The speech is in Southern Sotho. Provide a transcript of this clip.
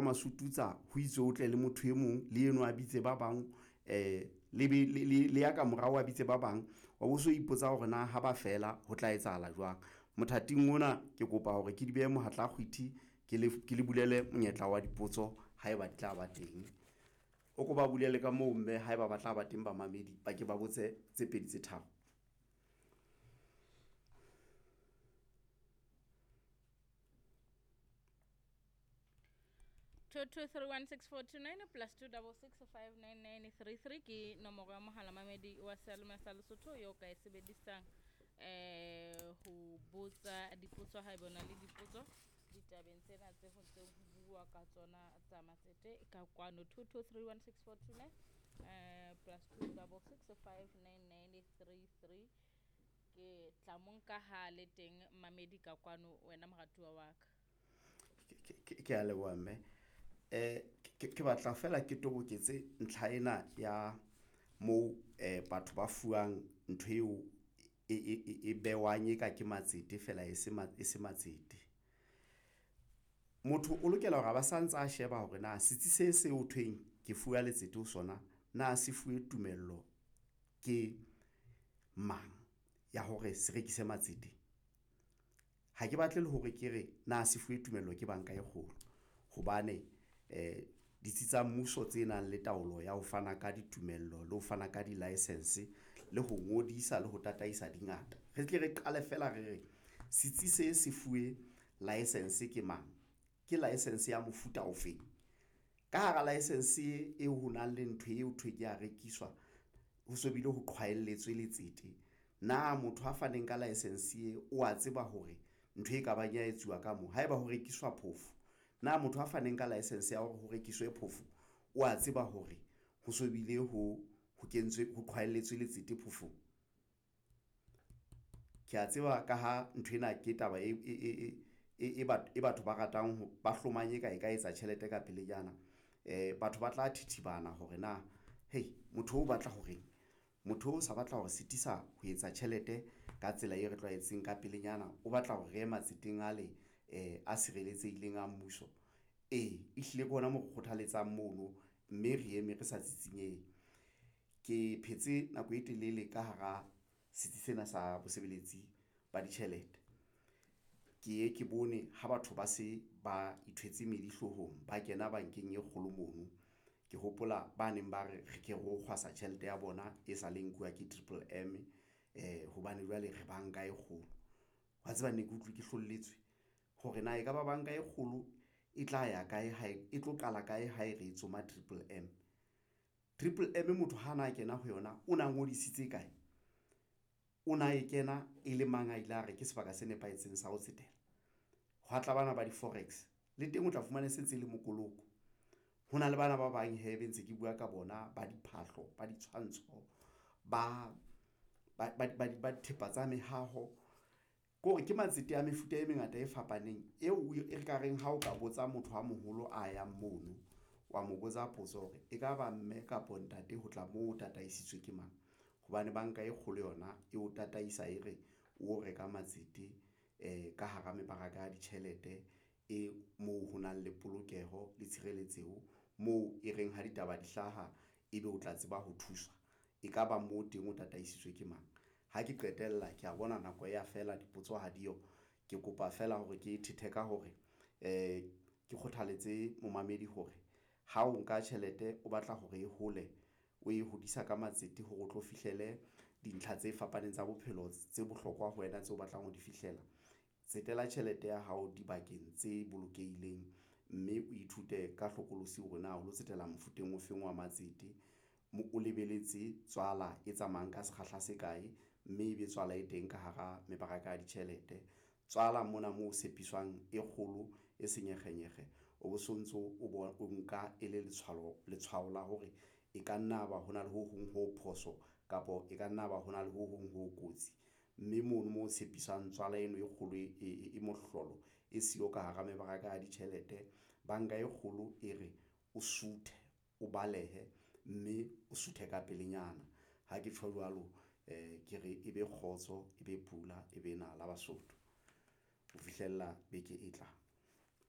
Masututsa ho itswe o tle le motho e mong le eno a bitse ba bang, le be le ya ka morao a bitse ba bang, wa bo so ipotsa hore na ha ba fela ho tla etsahala jwang. Mothating ona ke kopa hore ke di behe mohatla kgwithi, ke le bulele monyetla wa dipotso haeba di tla ba teng. O ko ba bulele ka moo, mme haeba ba tla ba teng bamamedi ba ke ba botse tse pedi tse tharo. 22316429 plus 26659933 ke nomoro ya mohala mamedi wa seyalemoya sa Lesotho eo ka e sebedisang ho botsa dipotso haeba o na le dipotso ditabeng tsena tse ho ntseng ho bua ka tsona tsa matsete ka kwano. 22316429 plus 26659933 ke tla mo nka ha le teng mamedi ka kwano, wena moratuwa wa ka. Ke a leboha mme. Ke batla fela ke toboketse ntlha ena ya moo batho ba fuwang ntho eo e bewang e ka ke matsete fela e se e se matsete. Motho o lokela hore a ba santsa a sheba hore na setsi se seo thweng ke fuwa letsete ho sona na se fuwe tumello ke mang ya hore se rekise matsete. Ha ke batle le hore ke re na se fuwe tumello ke banka e kgolo, hobane ditsi tsa mmuso tse nang le taolo ya ho fana ka ditumello le ho fana ka di-licence le ho ngodisa le ho tataisa di ngata. Re tle re qale fela re re setsi se se fuwe license ke mang, ke license ya mofuta ofeng. Ka hara license eo ho nang le ntho eo thwe ke ya rekiswa, ho so bile ho qhwaelletswe letsete. Na motho a faneng ka license e o a tseba hore ntho e kabang ya etsuwa ka moo haeba ho rekiswa phofo, na motho a faneng ka license ya hore ho rekiswe phofo o a tseba hore ho so bile ho kentswe ho qhwaelletswe letsete phofong. Ke a tseba ka ha nthwena ke taba e batho ba ratang ho ba hlomang e ka e ka etsa tjhelete ka pelenyana. Batho ba tla thithibana hore na hei motho o batla ho reng, motho o sa batla hore sitisa ho etsa tjhelete ka tsela e re tlwaetseng ka pelenyana, o batla hore re ye matseteng ale a sireletsehileng a mmuso. Ee, ehlile ke hona mo re kgothaletsang mono, mme re eme re sa tsitsinyehe. Ke phetse nako e telele ka hara setsi sena sa bosebeletsi ba ditjhelete. Ke ye ke bone ha batho ba se ba ithwetse medi hloohong, ba kena bankeng e kgolo mono. Ke hopola ba neng ba re re ke ro kgwasa tjhelete ya bona e sa le nkuwa ke Triple M, hobane jwale re banka e kgolo. Wa tseba ne ke utlwe ke hlolletswe hore na ekaba banka e kgolo e tla ya kae ha e tlo qala kae ha e re tsoma Triple M. Triple M motho ha na kena ho yona, o na ngodisitse kae, o na e kena e le mang, a ile a re ke sebaka se nepahetseng sa ho tsetela. Hwa tla bana ba di-forex le teng o tla fumana e sentse e le mokoloko. Ho na le bana ba bang hee be ntse ke bua ka bona ba diphahlo, ba ditshwantsho, ba dithepa tsa mehaho. Ke hore ke matsete a mefuta e mengata e fapaneng eo e ka reng ha o ka botsa motho a moholo a yang mono, wa mo botsa potso hore ekaba mme kapa ntate ho tla moo o tataisitswe ke mang, hobane banka e kgolo yona e o tataisa e re o reka matsete ka hara mebaraka ya ditjhelete e moo ho nang le polokeho le tshireletseho, moo e reng ha ditaba di hlaha, ebe o tla tseba ho thuswa. Ekaba moo teng o tataisitswe ke mang. Ha ke qetella ke a bona nako ya fela dipotso ha diyo. Ke kopa feela hore ke thethe ka hore ke kgothaletse momamedi hore ha o nka tjhelete, o batla hore e hole, o e hodisa ka matsete hore o tlo fihlele dintlha tse fapaneng tsa bophelo tse bohlokwa ho wena tseo o batlang ho di fihlela. Tsetela tjhelete ya hao dibakeng tse bolokehileng, mme o ithute ka hlokolosi hore na o lo tsetela mofuteng o feng wa matsete, o lebeletse tswala e tsamayang ka sekgahla se kae, mme ebe tswala e teng ka hara mebaraka ya ditjhelete. Tswala mona moo o tshepiswang e kgolo e senyekgenyekge, o bo sontso o nka e le letshwao la hore e ka nna ba hona le ho hong ho phoso kapa e ka nna ba hona le ho hong ho kotsi, mme mono mo tshepisang tswala eno e kgolo e mohlolo e siyo ka hara mebaraka ya ditjhelete. Banka e kgolo e re o suthe, o balehe, mme o suthe ka pelenyana. Ha ke tjho jwalo, ke re ebe kgotso, e be pula, e be nala Basotho ho fihlella beke e tlang.